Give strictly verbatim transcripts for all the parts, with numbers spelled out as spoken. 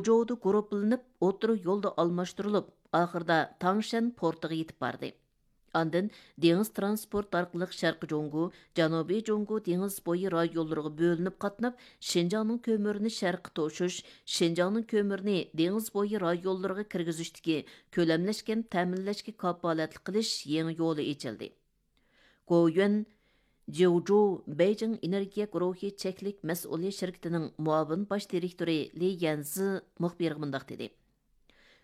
جودا گۇرۇپپىلىنىپ، ئوتتۇرا يولدا ئالماشتۇرۇلۇپ، ئاخىرىدا تاڭشەن پورتىغا يېتىپ باردى. ئاندىن دېڭىز ترانسپورت ئارقىلىق شەرقىي جۇڭگو، جەنۇبىي جۇڭگو دېڭىز بويى رايونلىرىغا بۆلۈنۈپ قاتناپ، شىنجاڭنىڭ كۆمۈرىنى شەرققە توشۇش، شىنجاڭنىڭ كۆمۈرىنى دېڭىز بويى رايونلىرىغا كىرگۈزۈشتىكى كۆلەملەشكەن تەمىنلەشكە كاپالەتلىك قىلىش يېڭى يولى ئېچىلدى. گوۋيۈەن جيۇجۇ بېيجىڭ ئېنېرگىيە گۇرۇھى چەكلىك مەسئۇلىيەت شىركىتىنىڭ مۇئاۋىن باش دىرېكتورى لى يەنزى مۇخبىرغا مۇنداق دېدى: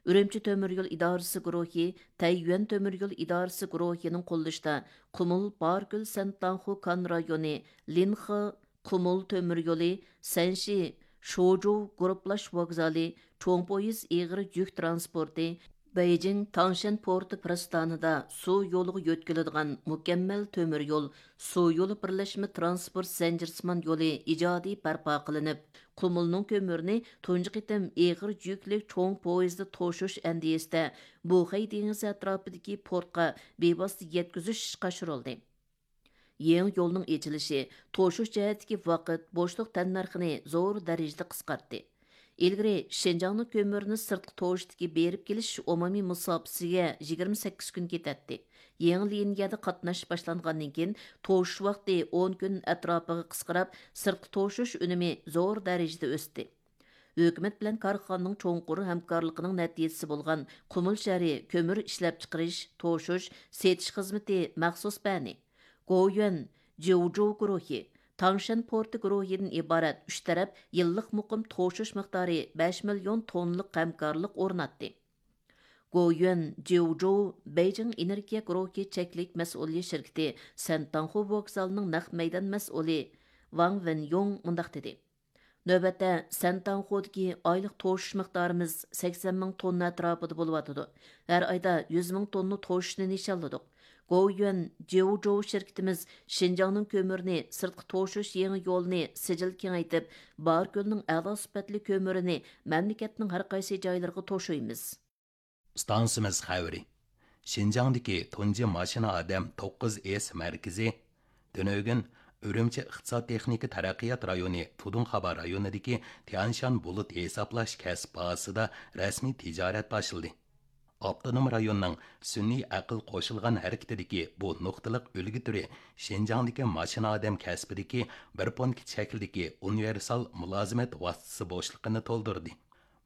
ئۈرۈمچى تۆمۈر يول ئىدارىسى گۇرۇھى تەييۈەن تۆمۈر يول ئىدارىسى گۇرۇھىنىڭ قوللىشىدا قۇمۇل باركۆل سەنتاڭخۇ كان رايونى لىنخې قۇمۇل تۆمۈر يولى، سەنشى شوجۇ گۇرۇپپىلاش ۋوگزالى، چوڭ پويىز ئېغىر يۈك ترانسپورتى، بېيجىڭ تاڭشەن پورتى پىرىستانىدا سۇ يولىغا يۆتكىلىدىغان مۇكەممەل تۆمۈر يول، سۇ يولى بىرلەشمە ترانسپورت زەنجىرسىمان يولى ئىجادىي بەرپا قىلىنىپ، قۇمۇلنىڭ كۆمۈرىنى تۇنجى قېتىم ئېغىر يۈكلۈك چوڭ پويىزدا توشۇش ئەندىزىسىدە بۇخەي دېڭىزى ئەتراپىدىكى پورتقا بىۋاسىتە يەتكۈزۈش ئىشقا ئاشۇرۇلدى. يېڭى يولنىڭ ئېچىلىشى توشۇش جەھەتتىكى ۋاقىت بوشلۇق تەننەرخىنى زور دەرىجىدە قىسقارتتى. ئىلگىرى شىنجاڭنىڭ كۆمۈرىنى سىرتقا توشۇشتىكى بېرىپ كېلىش ئومۇمىي مۇساپىسىگە يىگىرمە سەككىز كۈن كېتەتتى. يېڭى لىنىيەدە قاتناش باشلانغاندىن كېيىن، توشۇش ۋاقتى ئون كۈن ئەتراپىغا قىسقىراپ، سىرتقا توشۇش ئۈنۈمى زور دەرىجىدە ئۆستى. ھۆكۈمەت بىلەن كارخانىنىڭ چوڭقۇر ھەمكارلىقىنىڭ نەتىجىسى بولغان قۇمۇل شەھىرى كۆمۈر ئىشلەپچىقىرىش، توشۇش، سېتىش خىزمىتى مەخسۇس بەنى، گوۋيۈەن جيۇجۇ گۇرۇھى، تاڭشەن پورتى گۇرۇھىدىن ئىبارەت ئۈچ تەرەپ يىللىق مۇقىم توشۇش مىقدارى بەش مىليون توننىلىق ھەمكارلىق ئورناتتى. گوۋيۈەن جيۇجۇ بېيجىڭ ئېنېرگىيە گۇرۇھى چەكلىك مەسئۇلىيەت شىركىتى سەنتاڭخۇ ۋوگزالىنىڭ نەق مەيدان مەسئۇلى ۋاڭ ۋېنيوڭ مۇنداق دېدى: نۆۋەتتە سەنتاڭخۇدىكى ئايلىق توشۇش مىقدارىمىز سەكسەن مىڭ توننا ئەتراپىدا بولۇۋاتىدۇ. ھەر ئايدا يۈز مىڭ توننا توشۇشنى نىشانلىدۇق. گوۋيۈەن جيۇجۇ شىركىتىمىز شىنجاڭنىڭ كۆمۈرىنى سىرتقا توشۇش يېڭى يولىنى سىجىل كېڭەيتىپ، باركۆلنىڭ ئەلا سۈپەتلىك كۆمۈرىنى مەملىكەتنىڭ ھەر قايسى جايلىرىغا توشۇيمىز. ئىستانسىمىز خەۋىرى. شىنجاڭدىكى تۇنجى ماشىنا ئادەم توققۇز ئېس مەركىزى تۈنۈگۈن ئۈرۈمچى ئىقتىساد تېخنىكا تەرەققىيات رايونى تۇدۇڭخابا رايونىدىكى تيەنشان بۇلۇت ھېسابلاش كەسىپ بازىسىدا رەسمىي تىجارەت باشلىدى. ئاپتونوم رايوننىڭ سۈنئىي ئەقىل قوشۇلغان ھەرىكىتىدىكى بۇ نۇقتىلىق ئۈلگە تۈرى شىنجاڭدىكى ماشىنا ئادەم كەسپىدىكى بىر پونكىت شەكلىدىكى ئۇنىۋېرسال مۇلازىمەت ۋاسىتىسى بوشلۇقىنى تولدۇردى.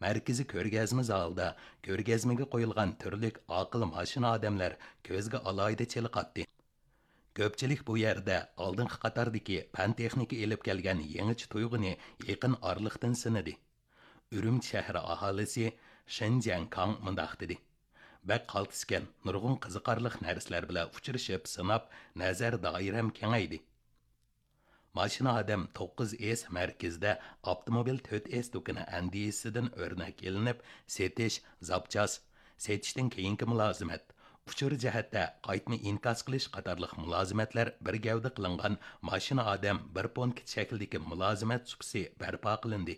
مەركىزىي كۆرگەزمە زالىدا كۆرگەزمىگە قويۇلغان تۈرلۈك ئاقىل ماشىنا ئادەملەر كۆزگە ئالاھىدە چېلىقاتتى. كۆپچىلىك بۇ يەردە ئالدىنقى قاتاردىكى پەن تېخنىكا ئېلىپ كەلگەن يېڭىچە تۇيغۇنى يېقىن ئارىلىقتىن سىنىدى. ئۈرۈمچى شەھىرى ئاھالىسى شېن جيەنكاڭ مۇنداق دېدى: بەك قالتىسكەن، نۇرغۇن قىزىقارلىق نەرسىلەر بىلەن ئۇچرىشىپ، سىناپ، نەزەر دائىرەم كېڭەيدى. ماشىنا ئادەم توققۇز ئېس مەركىزىدە ئاپتوموبىل تۆت ئېس دۇكىنى ئەندىزىسىدىن ئۆرنەك ئېلىنىپ، سېتىش، زاپچاس، سېتىشتىن كېيىنكى مۇلازىمەت، ئۇچۇر جەھەتتە قايتما ئىنكاس قىلىش قاتارلىق مۇلازىمەتلەر بىر گەۋدە قىلىنغان ماشىنا ئادەم بىر پونكىت شەكلىدىكى مۇلازىمەت سۇپىسى بەرپا قىلىندى.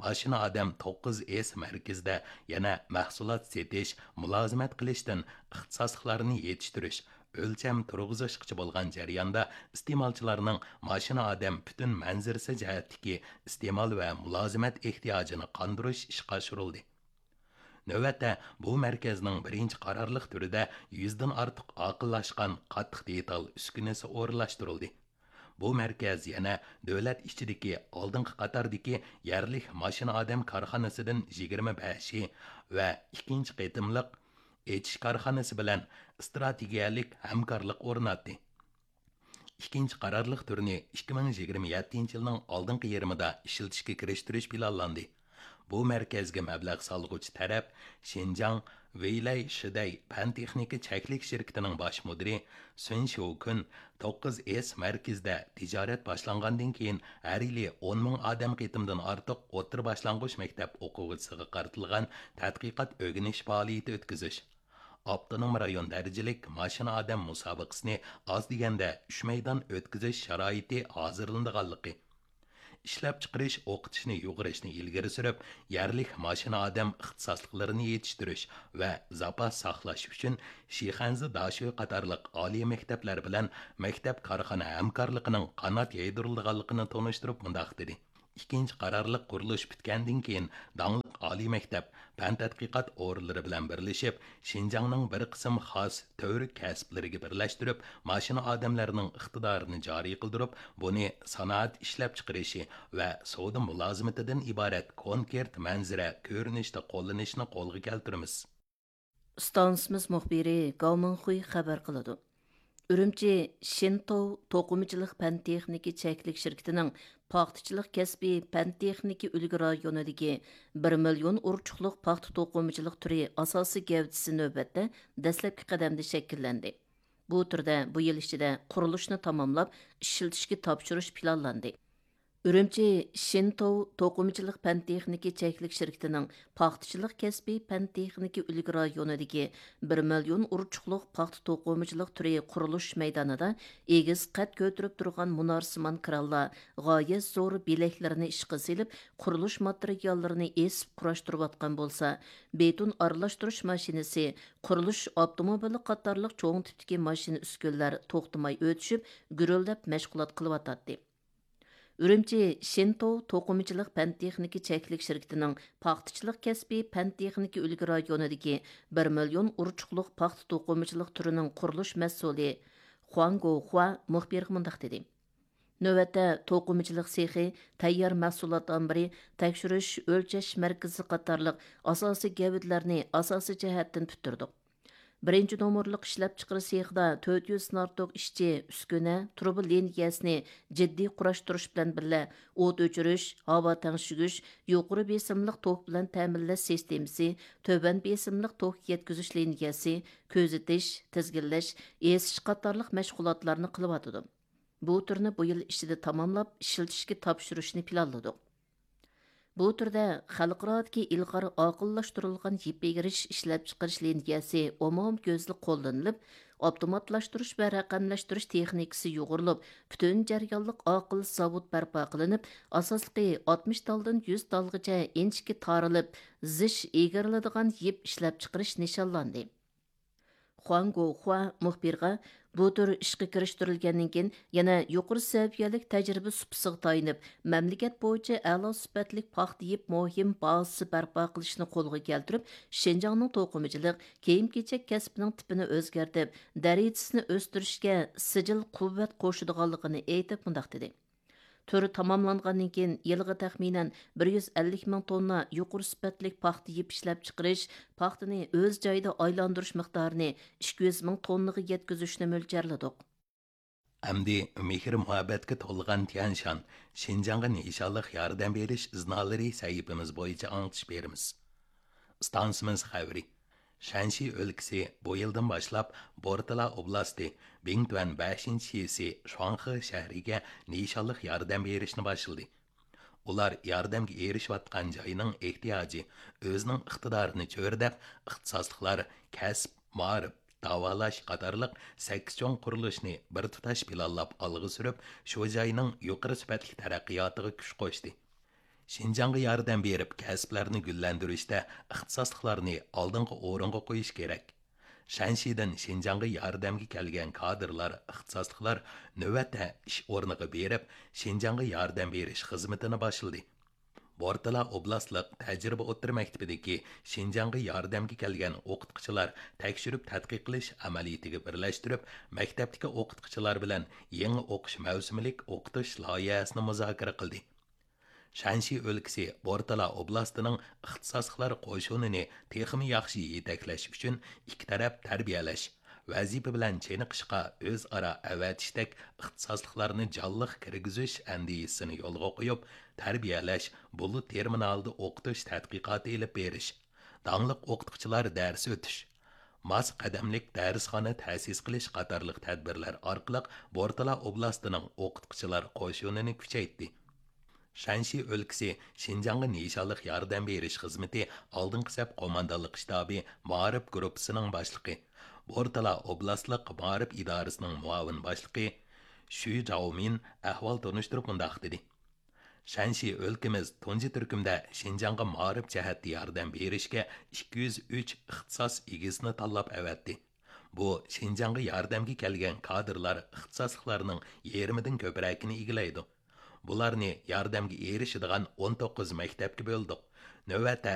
ماشىنا ئادەم توققۇز ئېس مەركىزىدە يەنە مەھسۇلات سېتىش، مۇلازىمەت قىلىشتىن ئىختىساسلىقلارنى يېتىشتۈرۈش، ئۆلچەم تۇرغۇزۇشقىچە بولغان جەرياندا ئىستېمالچىلارنىڭ ماشىنا ئادەم پۈتۈن مەنزىرىسى جەھەتتىكى ئىستېمال ۋە مۇلازىمەت ئېھتىياجىنى قاندۇرۇش ئىشقا ئاشۇرۇلدى. نۆۋەتتە بۇ مەركەزنىڭ بىرىنچى قارارلىق تۈرىدە يۈزدىن ئارتۇق ئاقىللاشقان قاتتىق دېتال ئۈسكۈنىسى ئورۇنلاشتۇرۇلدى. بۇ مەركەز يەنە دۆلەت ئىچىدىكى ئالدىنقى قاتاردىكى يەرلىك ماشىنا ئادەم كارخانىسىدىن يىگىرمە بەشى ۋە ئىككىنچى قېتىملىق ئېچىش كارخانىسى بىلەن ئىستراتېگىيەلىك ھەمكارلىق ئورناتتى. ئىككىنچى قارارلىق تۈرىنى ئىككى مىڭ يىگىرمە يەتتىنچى يىلنىڭ ئالدىنقى يېرىمىدا ئىشلىتىشكە كىرىشتۈرۈش پىلانلاندى. بۇ مەركەزگە مەبلەغ سالغۇچى تەرەپ شىنجاڭ ۋېيلەي شىدەي پەن تېخنىكا چەكلىك شىركىتىنىڭ باش مۇدىرى سۈن شيۇكۈن توققۇز ئېس مەركىزىدە تىجارەت باشلانغاندىن كېيىن ھەر يىلى ئون مىڭ ئادەم قېتىمدىن ئارتۇق ئوتتۇرا باشلانغۇچ مەكتەپ ئوقۇغۇچىسىغا قارىتىلغان تەتقىقات ئۆگىنىش پائالىيىتى ئۆتكۈزۈش، ئاپتونوم رايون دەرىجىلىك ماشىنا ئادەم مۇسابىقىسىنى ئاز دېگەندە ئۈچ مەيدان ئۆتكۈزۈش شارائىتى ھازىرلىنىدىغانلىقى، ئىشلەپچىقىرىش، ئوقۇتۇشنى يۇغۇرۇشنى ئىلگىرى سۈرۈپ، يەرلىك ماشىنا ئادەم ئىختىساسلىقلىرىنى يېتىشتۈرۈش ۋە زاپاس ساقلاش ئۈچۈن شىخەنزە داشۆ قاتارلىق ئالىي مەكتەپلەر بىلەن مەكتەپ كارخانا ھەمكارلىقىنىڭ قانات يايدۇرۇلىدىغانلىقىنى تونۇشتۇرۇپ مۇنداق دېدى: ئىككىنچى قارارلىق قۇرۇلۇش پۈتكەندىن كېيىن، داڭلىق ئالىي مەكتەپ، پەن تەتقىقات ئورۇنلىرى بىلەن بىرلىشىپ، شىنجاڭنىڭ بىر قىسىم خاس تۈۋرۈك كەسىپلىرىگە بىرلەشتۈرۈپ، ماشىنا ئادەملەرنىڭ ئىقتىدارىنى جارى قىلدۇرۇپ، بۇنى سانائەت ئىشلەپچىقىرىشى ۋە سودا مۇلازىمىتىدىن ئىبارەت كونكرېت مەنزىرە كۆرۈنۈشتە قوللىنىشنى قولغا كەلتۈرىمىز. ئىستانسىمىز مۇخبىرى گاۋ مىڭخۇي خەۋەر قىلىدۇ. ئۈرۈمچى شىنتوۋ توقۇمىچىلىق پەن تېخنىكا چەكلىك شىركىتىنىڭ پاختىچىلىق كەسپى پەن تېخنىكا ئۈلگە رايونىدىكى بىر مىليون ئۇرچۇقلۇق پاختا توقۇمىچىلىق تۈرى ئاساسىي گەۋدىسى نۆۋەتتە دەسلەپكى قەدەمدە شەكىللەندى. بۇ تۈردە بۇ يىل ئىچىدە قۇرۇلۇشنى تاماملاپ، ئىشلىتىشكە تاپشۇرۇش پىلانلاندى. ئۈرۈمچى شىنتوۋ توقۇمىچىلىق پەن تېخنىكا چەكلىك شىركىتىنىڭ پاختىچىلىق كەسپى پەن تېخنىكا ئۈلگە رايونىدىكى بىر مىليون ئۇرچۇقلۇق پاختا توقۇمىچىلىق تۈرى قۇرۇلۇش مەيدانىدا ئېگىز قەد كۆتۈرۈپ تۇرغان مۇنارسىمان كرانلار غايەت زور بېلەكلىرىنى ئىشقا سېلىپ، قۇرۇلۇش ماتېرىياللىرىنى ئېسىپ قۇراشتۇرۇۋاتقان بولسا، بېتون ئارىلاشتۇرۇش ماشىنىسى، قۇرۇلۇش ئاپتوموبىلى قاتارلىق چوڭ تىپتىكى ماشىنا ئۈسكۈنىلەر توختىماي ئۆتۈشۈپ، گۈرۈلدەپ مەشغۇلات قىلىۋاتاتتى. ئۈرۈمچى شىنتوۋ توقۇمىچىلىق پەن تېخنىكا چەكلىك شىركىتىنىڭ پاختىچىلىق كەسپى پەن تېخنىكا ئۈلگە رايونىدىكى بىر مىليون ئۇرچۇقلۇق پاختا توقۇمىچىلىق تۈرىنىڭ قۇرۇلۇش مەسئۇلى خۇاڭ گوخۇا مۇخبىرغا مۇنداق دېدى: نۆۋەتتە توقۇمىچىلىق سېخى تەييار مەھسۇلات ئامبىرى، تەكشۈرۈش، ئۆلچەش مەركىزى قاتارلىق ئاساسىي گەۋدىلەرنى ئاساسىي جەھەتتىن پۈتتۈردۇق. بىرىنچى نومۇرلۇق ئىشلەپچىقىرىش سېخىدا تۆت يۈزدىن ئارتۇق ئىشچى، ئۈسكۈنە، تۇرۇبا لىنىيەسىنى جىددىي قۇراشتۇرۇش بىلەن بىللە، ئوت ئۆچۈرۈش، ھاۋا تەڭشىگۈچ، يۇقىرى بېسىملىق توك بىلەن تەمىنلەش سىستېمىسى، تۆۋەن بېسىملىق توك يەتكۈزۈش لىنىيەسى، كۆزىتىش، تىزگىنلەش، ئېسىش قاتارلىق مەشغۇلاتلارنى قىلىۋاتىدۇ. بۇ تۈرنى بۇ يىل ئىچىدە تاماملاپ، ئىشلىتىشكە تاپشۇرۇشنى پىلانلىدۇق. بۇ تۈردە خەلقئارادىكى ئىلغار ئاقىللاشتۇرۇلغان يىپ ئېگىرىش ئىشلەپچىقىرىش لىنىيەسى ئومۇميۈزلۈك قوللىنىلىپ، ئاپتوماتلاشتۇرۇش ۋە رەقەملەشتۈرۈش تېخنىكىسى يۇغۇرۇلۇپ، پۈتۈن جەريانلىق ئاقىل زاۋۇت بەرپا قىلىنىپ، ئاساسلىقى ئاتمىش تالدىن يۈز تالغىچە ئىنچىكە تارىلىپ، زىچ ئېگىرىلىدىغان يىپ ئىشلەپچىقىرىش نىشانلاندى. خۇاڭ گوخۇا مۇخبىرغا، بۇ تۈر ئىشقا كىرىشتۈرۈلگەندىن كېيىن، يەنە يۇقىرى سەۋىيەلىك تەجرىبە سۇپىسىغا تايىنىپ، مەملىكەت بويىچە ئەلا سۈپەتلىك پاختا يىپ مۇھىم بازىسى بەرپا قىلىشنى قولغا كەلتۈرۈپ، شىنجاڭنىڭ توقۇمىچىلىق، كىيىم-كېچەك كەسپىنىڭ تىپىنى ئۆزگەرتىپ، دەرىجىسىنى ئۆستۈرۈشكە سىجىل قۇۋۋەت قوشىدىغانلىقىنى ئېيتىپ، مۇنداق دېدى: تۈر تاماملانغاندىن كېيىن، يىلىغا تەخمىنەن بىر يۈز ئەللىك مىڭ توننا يۇقىرى سۈپەتلىك پاختا يىپ ئىشلەپچىقىرىش، پاختىنى ئۆز جايىدا ئايلاندۇرۇش مىقدارىنى ئىككى يۈز مىڭ توننىغا يەتكۈزۈشنى مۆلچەرلىدۇق. ئەمدى مېھىر-مۇھەببەتكە تولغان تيەنشان، شىنجاڭغا نىشانلىق ياردەم بېرىش ئىزنالىرى سەھىپىمىز بويىچە ئاڭلىتىش بېرىمىز. ئىستانسىمىز خەۋىرى. شەنشى ئۆلكىسى بۇ يىلدىن باشلاپ بورتالا ئوبلاستى بىڭتۈەن بەشىنچى شىسى شۇاڭخې شەھىرىگە نىشانلىق ياردەم بېرىشنى باشلىدى. ئۇلار ياردەمگە ئېرىشىۋاتقان جاينىڭ ئېھتىياجى، ئۆزىنىڭ ئىقتىدارىنى چۆرىدەپ، ئىختىساسلىقلار، كەسىپ، مائارىپ، داۋالاش قاتارلىق سەككىز چوڭ قۇرۇلۇشنى بىر تۇتاش پىلانلاپ ئالغا سۈرۈپ، شۇ جاينىڭ يۇقىرى سۈپەتلىك تەرەققىياتىغا كۈچ قوشتى. شىنجاڭغا ياردەم بېرىپ، كەسىپلەرنى گۈللەندۈرۈشتە ئىختىساسلىقلارنى ئالدىنقى ئورۇنغا قويۇش كېرەك. شەنشىدىن شىنجاڭغا ياردەمگە كەلگەن كادىرلار، ئىختىساسلىقلار نۆۋەتتە ئىش ئورنىغا بېرىپ، شىنجاڭغا ياردەم بېرىش خىزمىتىنى باشلىدى. بورتالا ئوبلاستلىق تەجرىبە ئوتتۇرا مەكتىپىدىكى شىنجاڭغا ياردەمگە كەلگەن ئوقۇتقۇچىلار تەكشۈرۈپ تەتقىق قىلىش ئەمەلىيىتىگە بىرلەشتۈرۈپ، مەكتەپتىكى ئوقۇتقۇچىلار بىلەن يېڭى ئوقۇش مەۋسۇمىلىك ئوقۇتۇش لايىھەسىنى مۇزاكىرە قىلدى. شەنشى ئۆلكىسى بورتالا ئوبلاستىنىڭ ئىختىساسلىقلار قوشۇنىنى تېخىمۇ ياخشى يېتەكلەش ئۈچۈن ئىككى تەرەپ تەربىيەلەش، ۋەزىپە بىلەن چېنىقىشقا ئۆزئارا ئەۋەتىشتەك ئىختىساسلىقلارنى جانلىق كىرگۈزۈش ئەندىزىسىنى يولغا قويۇپ، تەربىيەلەش، بۇلۇت تېرمىنالىدا ئوقۇتۇش تەتقىقاتى ئېلىپ بېرىش، داڭلىق ئوقۇتقۇچىلار دەرس ئۆتۈش، ماس قەدەملىك دەرسخانا تەسىس قىلىش قاتارلىق تەدبىرلەر ئارقىلىق بورتالا ئوبلاستىنىڭ ئوقۇتقۇچىلار قوشۇنىنى كۈچەيتتى. شەنشى ئۆلكىسى شىنجاڭغا نىشانلىق ياردەم بېرىش خىزمىتى ئالدىنقى سەپ قوماندانلىق شتابى مائارىپ گۇرۇپپىسىنىڭ باشلىقى، بورتالا ئوبلاستلىق مائارىپ ئىدارىسىنىڭ مۇئاۋىن باشلىقى شۈ جاۋمىن ئەھۋال تونۇشتۇرۇپ مۇنداق دېدى: شەنشى ئۆلكىمىز تۇنجى تۈركۈمدە شىنجاڭغا مائارىپ جەھەتتە ياردەم بېرىشكە ئىككى يۈز ئۈچ ئىختىساس ئىگىسىنى تاللاپ ئەۋەتتى. بۇ شىنجاڭغا ياردەمگە كەلگەن كادىرلار ئىختىساسلىقلارنىڭ يېرىمىدىن كۆپرەكىنى ئىگىلەيدۇ. بۇلارنى ياردەمگە ئېرىشىدىغان ئون توققۇز مەكتەپكە بۆلدۇق. نۆۋەتتە